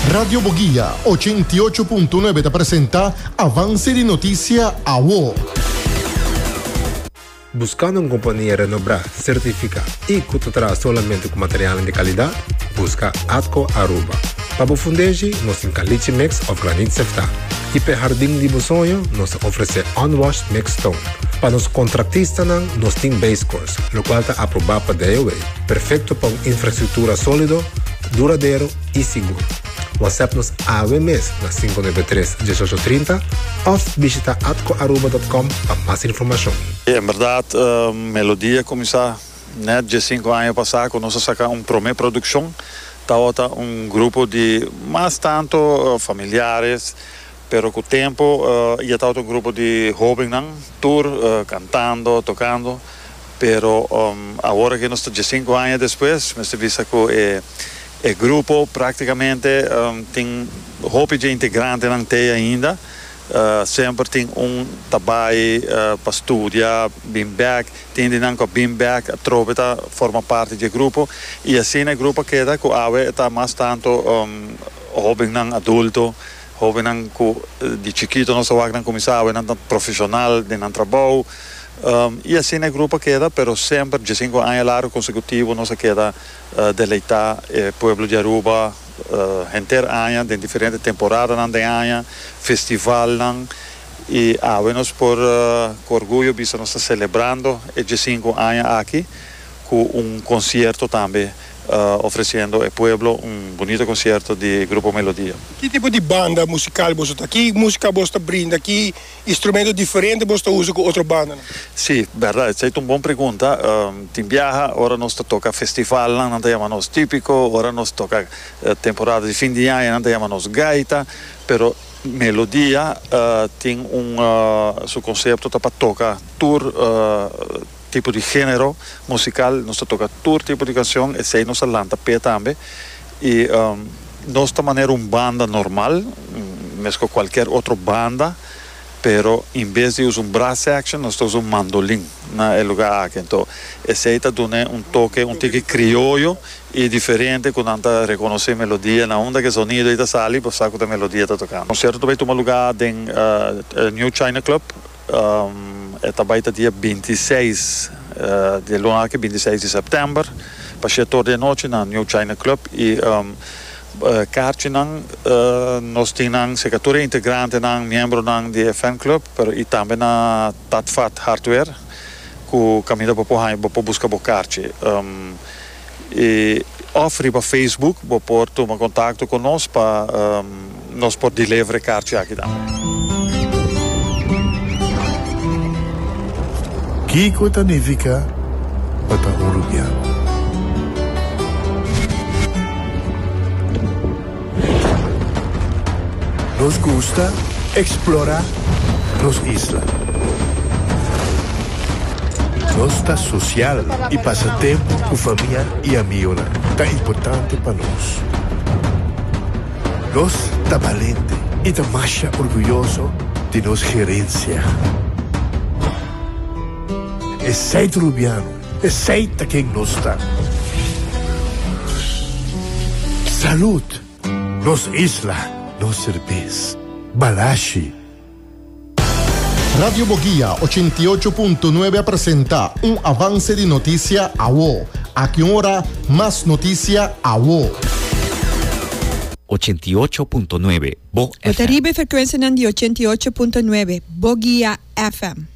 Radio Boguia 88.9 ta presenta Avance di Noticia Awo. Buscando un compania renobrá, certificá y cu ta traha solamente cu materialnan di calidad? Busca Atco Aruba. Pa bo fundeshi, nos tin caliche mix of granit seftá. Y p'e hardin di bo soño, nos ta ofrece unwashed mixed stone. Pa nos contractistanan, nos tin base course, locual ta aprobá pa DOW, perfecto pa un infrastructura solido, duradero y sigur. WhatsApp nos awe mes na 593 1830 of bishita atcoaruba.com pa mas informacion. En berdad Melodia cuminsa net diescinco aña pasa cu nos a saca un prome produccion. Tawata un grupo di mas tanto familiares pero cu tempo ya tawata un grupo di hobennan tur cantando, tocando. Pero awor aki nos ta diescinco aña despues mester bisa cu e E grupo práktikamente tin hopi dje integrantenan tei ainda. Semper tin un ta bai pa studia, bin bèk. Tin di nan ku a bin bèk atrobe ta forma parti dje grupo. I asina e grupo a keda ku awe e ta mas tantu hóbennan adulto, hóbennan ku di chikito nos a wak nan kuminsá, awe nan ta profeshonal den nan trabou. I asina e grupo a keda, pero semper diesinku aña largu konsekutivo nos a keda. Deleitá e pueblo di Aruba henter aña den diferente temporadanan den aña, festivalnan y awe nos por cu orguyo bisa nos ta celebrando e diescinco aña aki cu un concierto tambe ofreciendo e pueblo un bunito concierto di Grupo Melodia. Ki tipo di banda musical boso ta? Ki musica boso ta brinda? Ki Instrumento diferente boso ta usa ku otro bandanan? Sí, bèrdat. Esei ta un bon pregunta. Tin biaha ora nos ta toka festivalnan nan ta yama nos típiko, ora nos toka temporada di fin di aña nan ta yama nos gaita, pero Melodia tin un su konsepto ta pa toka tur tipo di género musikal, nos ta toka tur tipo di kanshon, esei nos a lanta p'e tambe i nos ta manera un banda normal, meskos kualker otro banda, pero en bes di usa un brass section nos ta usa un mandolin na e lugar aki. Anto esei ta dun'e un toke un tiki krioyo i diferente ku nan ta rekonosé melodia na unda ku e zonido ei ta sali bo sa ku ta melodia ta tokando. Konsierto ta bai tuma lugar den New China Club. E ta bai ta dia bintiseis di e luna aki, bintiseis di sèptèmber, pa shete or di anochi na New China Club. I karchinan nos tin nan serka tur e integrantenan, miembronan di e fan club, pero i tambe na Tatvat Hardware ku kaminda bo por haña, bo por buska bo karchi. I òf riba Facebook bo por tuma kontakto ku nos pa nos por deliver e karchi aki tambe. Kiko ta nifiká pa ta un rubiano? Nos gusta eksplorá nos isla. Nos ta sosial i pasa tempu ku famia i amigonan ta importante pa nos. Nos ta balente i ta masha orguyoso di nos gerensia. Esei ta Rubiano, esei ta ken nos ta. Salud! Nos isla, nos serbes. Balashi. Radio Boguia 88.9 a presenta un avance di noticia awo. Aki un ora, mas noticia awo. 88.9 Bo Bo ta FM. riba e frekuensianan di 88.9 Boguia FM.